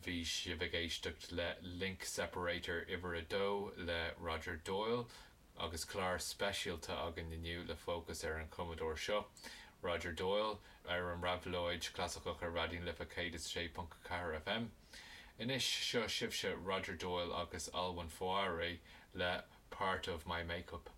Bhí sibh ag éisteacht le Link Separator uimhir a dó le Roger Doyle agus clár speisialta againn inniu le fócas ar an chumadóir seo, Roger Doyle, ar an Réabhlóid Chlasaiceach ar Raidió na Life 106.4 FM. Anois, seo sibhse Roger Doyle agus Alwyn Foiré le Part of My Make-up.